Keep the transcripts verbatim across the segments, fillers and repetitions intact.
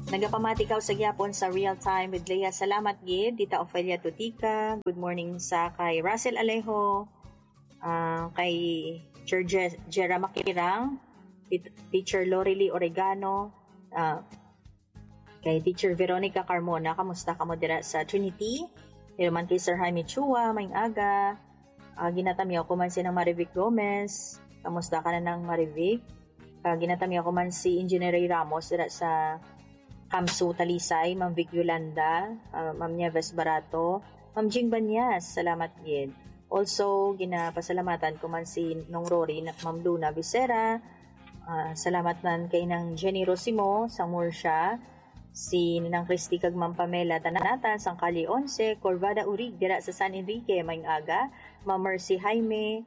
Nagapamati ka sa gyapon sa Real Time with Leah. Salamat gid, Tita Ofelia Tutica. Good morning sa kay Russell Alejo, ah, kay Teacher Je-, Jera Makirang, Tit-, Teacher Lorely Oregano, ah, kay Teacher Veronica Carmona. Kamusta kamo dira sa Trinity? Pero man kay Sir Jaime Chua, maayong aga. Ah, ginatamyaw ko man si Nang Marivic Gomez. Kamusta ka na, Nang Marivic? Ah, ginatamyaw ko man si Engineer Ray Ramos dira sa Kamso, Talisay, Ma'am Vic Yolanda, ah, Ma'am Nieves Barato, Ma'am Jing Banyas, salamat gid. Also, ginapasalamatan ko man si Nong Rory, na-, Ma'am Luna Vicera, ah, salamat man kay Nang Jenny Rosimo sang Murcia, si Nang Christy kag Ma'am Pamela Tanatan sang Kalye Onse, Corvada Urig dira sa San Enrique, maayong aga, Ma'am Mercy Jaime,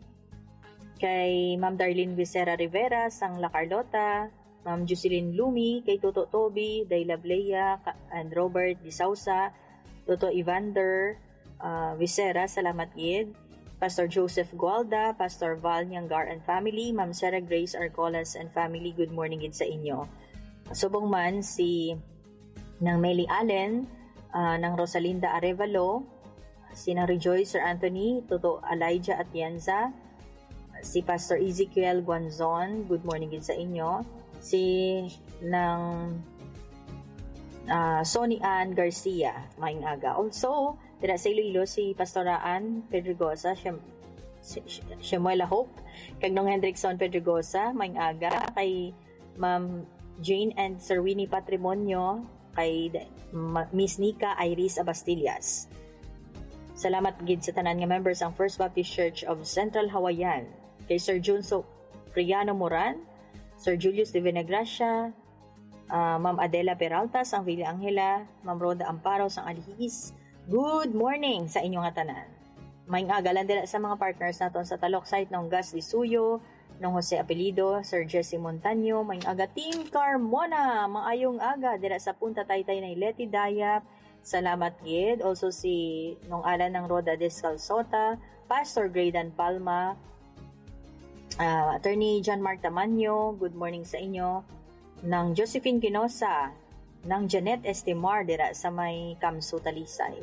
kay Ma'am Darlene Vicera Rivera sang La Carlota, Ma'am Jocelyn Lumi, kay Toto Toby, Day Lablea, ka-, and Robert Di Sausa, Toto Evander, ah, Vicera, salamat gid. Pastor Joseph Gualda, Pastor Val Niangar and family, Ma'am Sarah Grace Arcolas and family, good morning gid sa inyo. Subong man si Nang Meli Allen, ah, Nang Rosalinda Arevalo, si Nang Rejoice Sir Anthony, Toto Elijah Atienza, si Pastor Ezekiel Guanzon, good morning gid sa inyo. Si Nang, ah, Sonny Ann Garcia, maayong aga. Also, dira sa Iloilo, si Pastora Ann Pedregosa, Shem-, si-, Shemuela Hope, kag Nong Hendrickson Pedregosa, maayong aga. Kay Ma'am Jane and Sir Winnie Patrimonio, kay D-, Ma-, Miss Nika Iris Abastillas. Salamat gid sa tanan nga members sang First Baptist Church of Central Hawaiian, kay Sir Junso Priano Moran, Sir Julius de Venegracia, ah, Ma'am Adela Peralta sang Villa Angela, Ma'am Rhoda Amparo sang Alihis. Good morning sa inyo nga tanan. Maayong aga lang dira sa mga partners naton sa Talok Site, Nong Gas Lisuyo, Nong Jose Apelido, Sir Jesse Montaño, maayong aga, Team Carmona, maayong aga dira sa Punta Taytay, Nay Leti Dayap. Salamat gid. Also si Nong Alan, Nang Rhoda Descalzota, Pastor Graydan Palma, ah, Attorney John Mark Tamanyo, good morning sa inyo. Nang Josephine Quinosa, Nang Janet Estimar dira sa may Kamso, Talisay.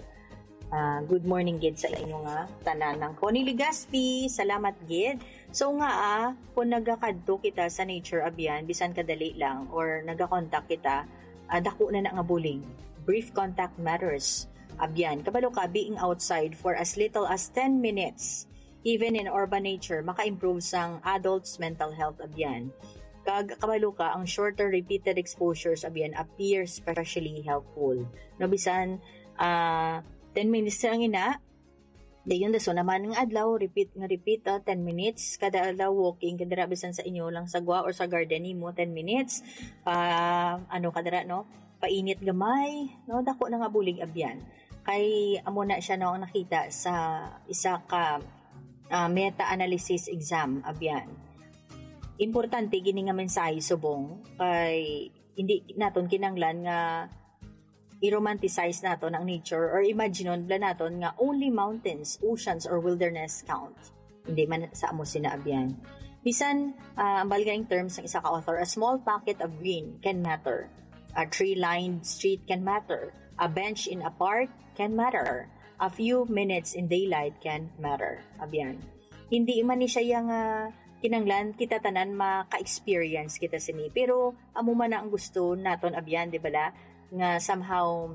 Ah, good morning gid sa inyo nga tanan. Nang Connie Legaspi, salamat gid. So nga, ah, kung nagakadto kita sa nature, abyan, bisan kadali lang, or nagakontak kita, ah, dako na na nga bulig. Brief contact matters. Abyan, kabalo ka, being outside for as little as ten minutes, even in urban nature, maka-improve sang adults' mental health, abyan. Kag kabalo ka, ang shorter repeated exposures, abyan, appear especially helpful. No, bisan, ah, ten minutes lang ina, dayon dason naman nga adlaw, repeat nga repeat, ah, ten minutes kada adlaw walking, kadira bisan sa inyo lang sa gwa or sa garden nimo, ten minutes, pa, ano, kadira, no? Painit gamay, no? Dako na nga bulig, abyan. Kay amo na siya, no, ang nakita sa isa ka, ah, meta-analysis exam, abyan. Importante gini nga mensahe, subong, kay hindi naton kinahanglan nga i-romanticize naton ang nature or imaginon bala naton nga only mountains, oceans, or wilderness count. Hindi man sa amo sina, abyan. Bisan, ah, ang balga ing term sang isa ka author, a small pocket of green can matter. A tree-lined street can matter. A bench in a park can matter. A few minutes in daylight can matter. Abyan. Hindi man ni siya yang, ah, kinahanglan kita tanan maka-experience kita sini. Pero amo man na ang gusto naton, abyan, di ba la? Nga somehow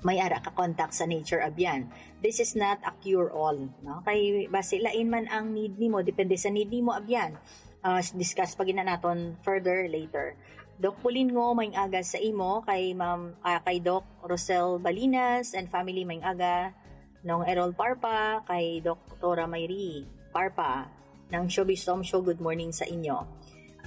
may ara ka contact sa nature, abyan. This is not a cure-all, no? Kay basi lain man ang need nimo, depende sa need nimo, abyan. Ah, s-, discuss pa gina naton further later. Doc Pulingo, maayong aga sa imo, kay Ma'am, ah, kay Doc Rosel Balinas and family, maayong aga. Nong Errol Parpa, kay Doktora Mayri Parpa, Nang Showbiz Tom Show, good morning sa inyo.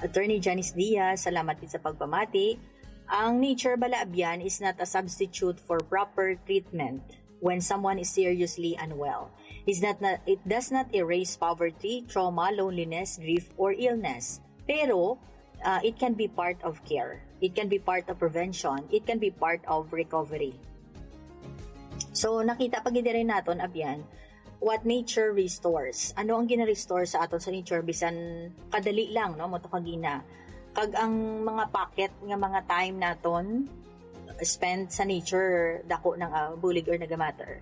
Attorney Janice Diaz, salamat gid sa pagpamati. Ang nature bala, abyan, is not a substitute for proper treatment when someone is seriously unwell. Is not, not, it does not erase poverty, trauma, loneliness, grief, or illness. Pero, ah, it can be part of care. It can be part of prevention. It can be part of recovery. So, nakita pa gid diri naton, abyan, what nature restores. Ano ang gina-restore sa aton sa nature? Bisan kadali lang, no? Mo to kagina. Kag ang mga pocket nga mga time naton, spend sa nature, dako nang, ah, bulig or nagamatter.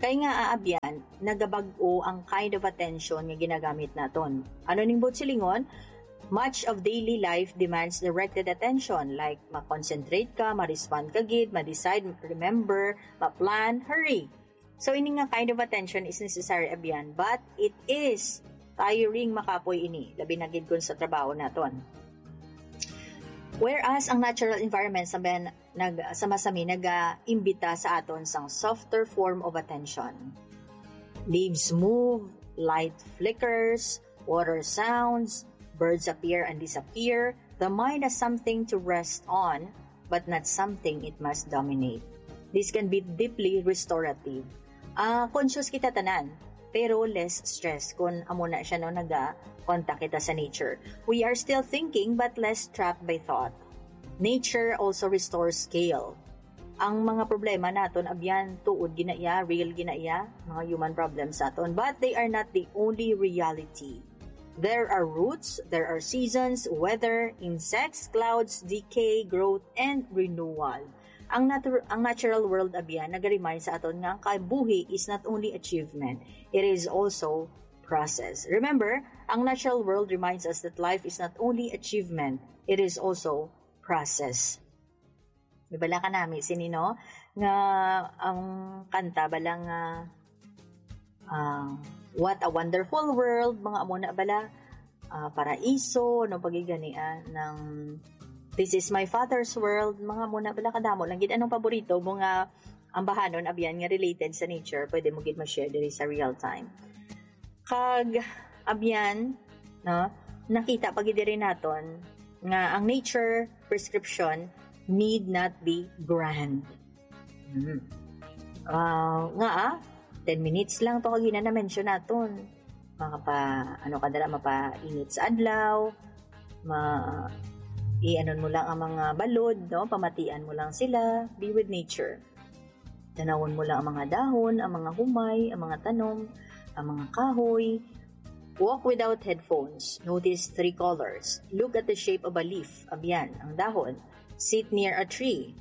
Kay nga, ah, abyan, nagabag-o ang kind of attention nga ginagamit naton. Ano ning buot silingon? Much of daily life demands directed attention, like ma-concentrate ka, ma-respond ka gid, ma-decide, remember, ma-plan, hurry. So, ini nga kind of attention is necessary, abyan, but it is tiring makapoy ini, labi na gid kun sa trabaho naton. Whereas ang natural environment sa ben, nag, sa masami nagaimbita sa aton sang softer form of attention. Leaves move, light flickers, water sounds, birds appear and disappear. The mind has something to rest on, but not something it must dominate. This can be deeply restorative. Ah, conscious kita tanan, pero less stress kun amo na siya, no, naga-contact kita sa nature. We are still thinking but less trapped by thought. Nature also restores scale. Ang mga problema naton, abyan, tuod gina iya, real gina iya, mga human problems naton. But they are not the only reality. There are roots, there are seasons, weather, insects, clouds, decay, growth, and renewal. Ang natu-, ang natural world, abyan, naga-remind sa aton nga ang kabuhi is not only achievement, it is also process. Remember, ang natural world reminds us that life is not only achievement, it is also process. Di bala ka nami sini, no? Nga ang kanta bala nga, ah, What a Wonderful World, mga amo na bala, ah, Paraiso, no, pagigani, ah, ng This Is My Father's World, mga amo na bala kadamo lang gid. Anong paborito mo nga ambahanon, abyan, nga related sa nature? Pwede mo gid ma-share diri sa real time. Kag, abyan, no, nakita pa gid diri naton nga ang nature prescription need not be grand. Hmm. Ah, nga, ah, ten minutes lang to, kag yun na na-mention naton. Makapa, ano ka dala, mapainit sa adlaw, ma, i-anon mo lang ang mga balod, no? Pamatian mo lang sila, be with nature. Tanawon mo lang ang mga dahon, ang mga humay, ang mga tanom, ang mga kahoy. Walk without headphones. Notice three colors. Look at the shape of a leaf. Abyan, ang dahon. Sit near a tree.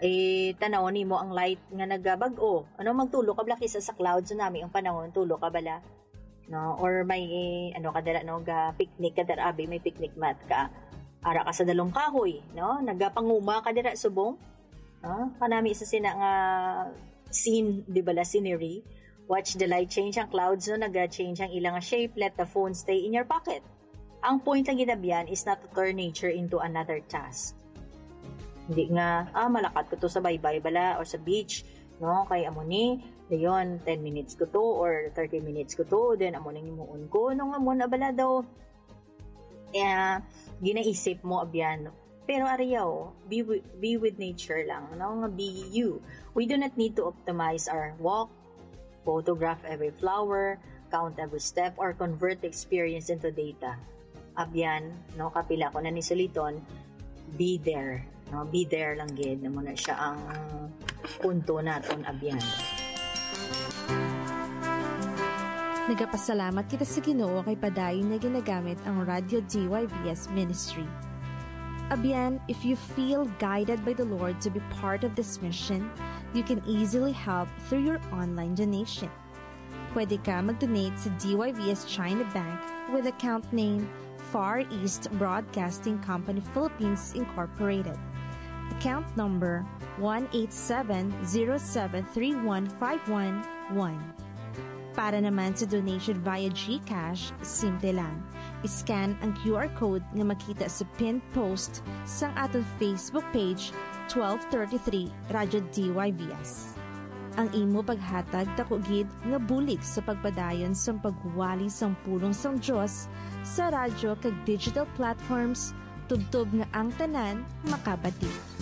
Eh, tanawon nimo ang light nga nagabag-o. Ano, magtulo ka bala kisa sa clouds, tsunami ang panahon, tulo ka bala. No? Or may, ano ka dala, no? Ga picnic ka dala, abi, may picnic mat ka. Ara ka sa dalong kahoy, no? Nagapanguma ka dala, subong. No? Kanami sa sina nga scene, di bala, scenery. Watch the light change ang clouds, no? Naga-change ang ilang shape. Let the phone stay in your pocket. Ang point lang gid, abyan, is not to turn nature into another task. Hindi nga, ah, malakat ko to sa baybay bala or sa beach, no? Kay amo ni, dayon, ten minutes ko to or thirty minutes ko to, then amo nang himuon ko. Nung amo na bala daw, eh, ginaisip mo, abyan. Pero ariyaw, be, wi-, be with nature lang, no? Nga be you. We do not need to optimize our walk, photograph every flower, count every step, or convert the experience into data. Abyan, no, kapila ko na ni suliton, be there. No, be there lang gid. Amo na siya ang punto naton, abyan. Nagapasalamat kita sa Ginoo kay padayon nga ginagamit ang Radyo D Y V S Ministry. Abyan, if you feel guided by the Lord to be part of this mission, you can easily help through your online donation. Pwede ka mag-donate sa D Y V S China Bank with account name Far East Broadcasting Company Philippines Incorporated. Account number one eight seven zero seven three one five one one. Para naman sa donation via GCash, simple lang. I-scan ang Q R code nga makita sa pinned post sang aton Facebook page, twelve thirty-three Radyo D Y V S. Ang imo paghatag dako gid nga bulig sa pagpadayon sang pagwali sang pulong sang Dios sa radyo kag digital platforms, tubtob nga ang tanan makabati.